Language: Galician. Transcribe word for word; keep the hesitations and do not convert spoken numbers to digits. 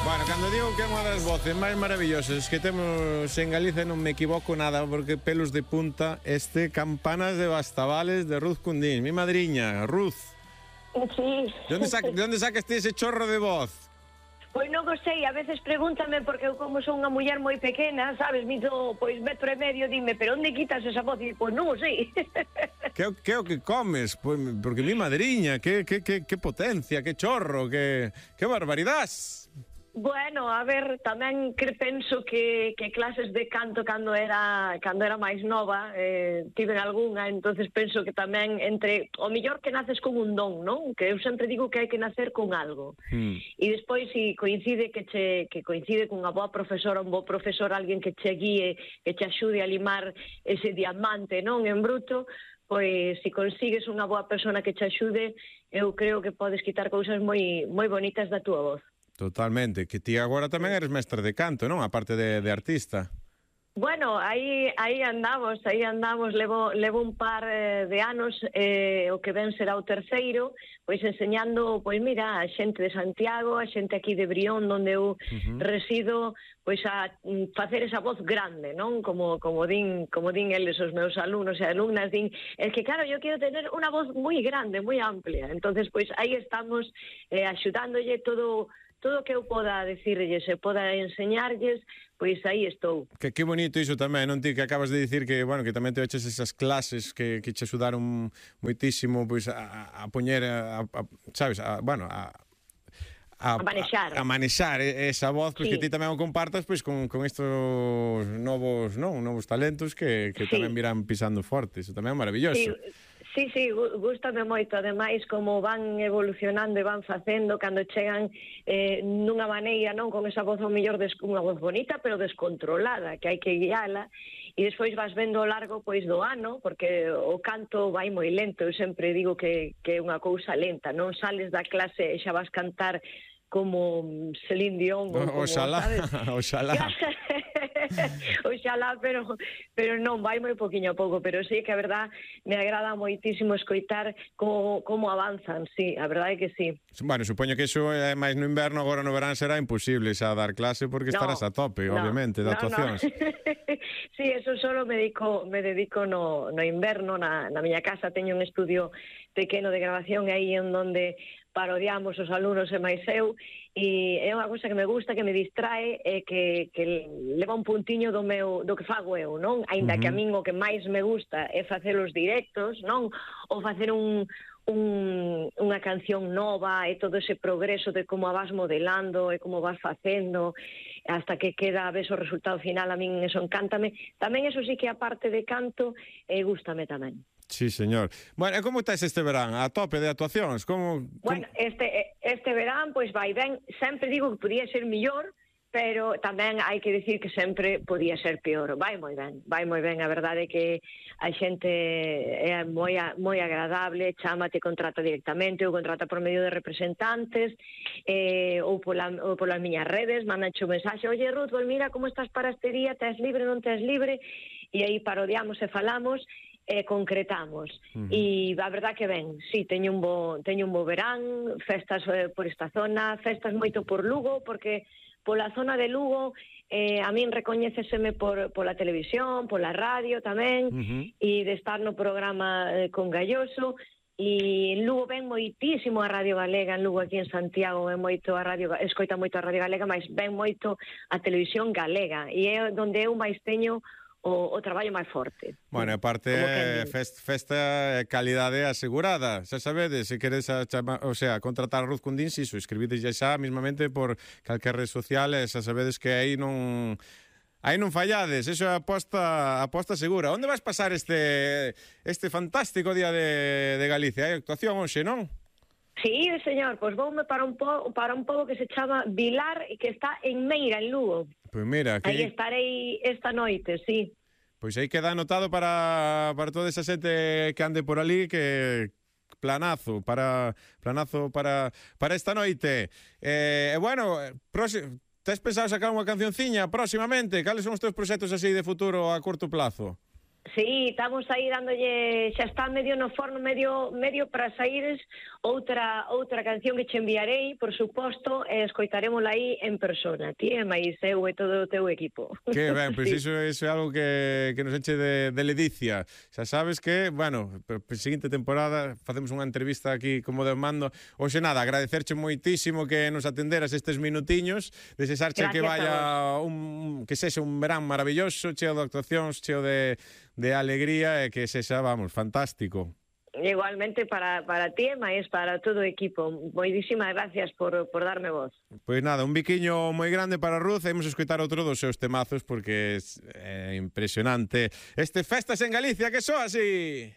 Bueno, cando digo que é unha das voces máis maravillosas que temos en Galicia non me equivoco nada, porque pelos de punta este Campanas de Bastavales de Ruth Cundín, mi madriña, Ruth. Sí. De onde, sac, de onde sacaste ese chorro de voz? Pois non o sei, a veces pregúntame porque eu como son unha muller moi pequena, sabes, mido pois metro e medio, dime, pero onde quitas esa voz? E pois non o sei. Que, que o que comes? Pois, porque mi madriña, que, que, que, que potencia, que chorro, que, que barbaridade. Bueno, a ver, tamén que penso que, que clases de canto cando era cando era máis nova eh, tiven algunha, entonces penso que tamén entre o millor que naces con un don, non? Que eu sempre digo que hai que nacer con algo. Hmm. E despois si coincide que che que coincide cunha boa profesora, un bo profesor, alguén que che guíe, que che axude a limar ese diamante, non, en bruto, pois se si consigues unha boa persona que che axude, eu creo que podes quitar cousas moi moi bonitas da túa voz. Totalmente, que ti agora tamén eres mestra de canto, non? A parte de, de artista. Bueno, aí aí andamos, aí andamos, levo, levo un par eh, de anos, eh, o que ven será o terceiro, pois enseñando, pois mira, a xente de Santiago, a xente aquí de Brión, onde eu uh-huh. resido, pois a facer esa voz grande, non? Como como din, como din eles os meus alumnos e alumnas, din, es que claro, eu quero tener unha voz moi grande, moi amplia. Entonces, pois aí estamos eh, axudándolle todo todo o que eu poda decirlles e poda enseñarlles, pois aí estou. Que, que bonito iso tamén, non ti que acabas de dicir que, bueno, que tamén te eches esas clases que, que che axudaron moitísimo pois a, a poñer a, a, sabes, a, bueno, a A, a manexar a, a manexar esa voz, pois sí. Que ti tamén o compartas pois con, con estos novos, non, novos talentos que, que sí. Tamén virán pisando forte, iso tamén é maravilloso. Sí. Sí, sí, gústame moito, ademais, como van evolucionando e van facendo cando chegan eh, nunha maneira, non, con esa voz ao mellor, des, unha voz bonita, pero descontrolada, que hai que guiala, e despois vas vendo ao largo, pois, do ano, porque o canto vai moi lento, eu sempre digo que, que é unha cousa lenta, non sales da clase e xa vas cantar como Celine Dion, ou como, oxalá, sabes? Oxalá. Oxalá, pero pero non, vai moi poquinho a pouco, pero sí que a verdad me agrada moitísimo escoitar como, como avanzan, sí, a verdade é que sí. Bueno, supoño que iso é máis no inverno, agora no verán será imposible xa dar clase porque no, estarás a tope, no, obviamente, de no, actuacións. No. Sí, eso solo me dedico, me dedico no, no inverno, na, na miña casa teño un estudio pequeno de grabación aí en donde parodiamos os alumnos e máis eu, e é unha cousa que me gusta, que me distrae e que, que leva un puntiño do meu do que fago eu, non? Aínda uh-huh. que a min o que máis me gusta é facer os directos, non? Ou facer un, un, unha canción nova e todo ese progreso de como a vas modelando e como vas facendo hasta que queda, ves o resultado final, a min eso encántame. Tamén eso sí que a parte de canto eh, gústame tamén. Sí, señor. Bueno, e como estás este verán? A tope de actuacións? Como, como... Bueno, este, este verán, pois vai ben. Sempre digo que podía ser millor, pero tamén hai que dicir que sempre podía ser peor. Vai moi ben, vai moi ben. A verdade é que a xente é moi, moi agradable, chama, te contrata directamente, ou contrata por medio de representantes, eh, ou, pola, ou polas miñas redes, mandanche un mensaxe, oye, Ruth, pues mira como estás para este día, tes libre, non tes libre, e aí parodiamos e falamos, e concretamos. Uh-huh. E a verdad que ben, sí, teño un bo, teño un bo verán, festas eh, por esta zona, festas moito por Lugo, porque pola zona de Lugo eh, a min recoñéceseme por pola televisión, pola radio tamén, uh-huh. e de estar no programa eh, con Galloso, e en Lugo ven moitísimo a Radio Galega, en Lugo aquí en Santiago ven moito a radio, escoita moito a Radio Galega, mas ven moito a televisión galega, e é onde eu máis teño O, o traballo máis forte. Bueno, aparte fest, festa calidade asegurada. Xa sabedes, se queres a chama, o sea, contratar a Ruth Cundín, si, so, escribides xa mismamente por calquer red social, xa sabedes que aí non aí non fallades, eso é aposta aposta segura. Onde vas pasar este este fantástico día de, de Galicia? Hai actuación hoxe, non? Sí, señor, pois voume para un po, para un pobo que se chama Vilar e que está en Meira, en Lugo. Pois mira, que... aí estarei esta noite, sí. Pois aí queda anotado para, para toda esa xente que ande por ali, que planazo para planazo para, para esta noite. E eh, bueno, próximo, tes pensado sacar unha cancionciña próximamente? Cales son os teus proxectos así de futuro a curto plazo? Sí, estamos aí dándolle, xa está medio no forno, medio medio para saíres outra outra canción que che enviarei, por suposto, e escoitarémola aí en persona, ti e máis eu e todo o teu equipo. Que ben, pois Sí. iso, iso é algo que, que nos enche de, de ledicia. Xa sabes que, bueno, para a seguinte temporada facemos unha entrevista aquí como de mando. Oxe, nada, agradecerche moitísimo que nos atenderas estes minutiños, desexarche que vaya un, que sexa un verán maravilloso, cheo de actuacións, cheo de de alegría e que sexa, vamos, fantástico. Igualmente para, para ti e máis para todo o equipo. Moitísimas gracias por, por darme voz. Pois nada, un biquiño moi grande para Ruth. Imos escoitar outro dos seus temazos porque é, é impresionante. Este Festas en Galicia, que só así...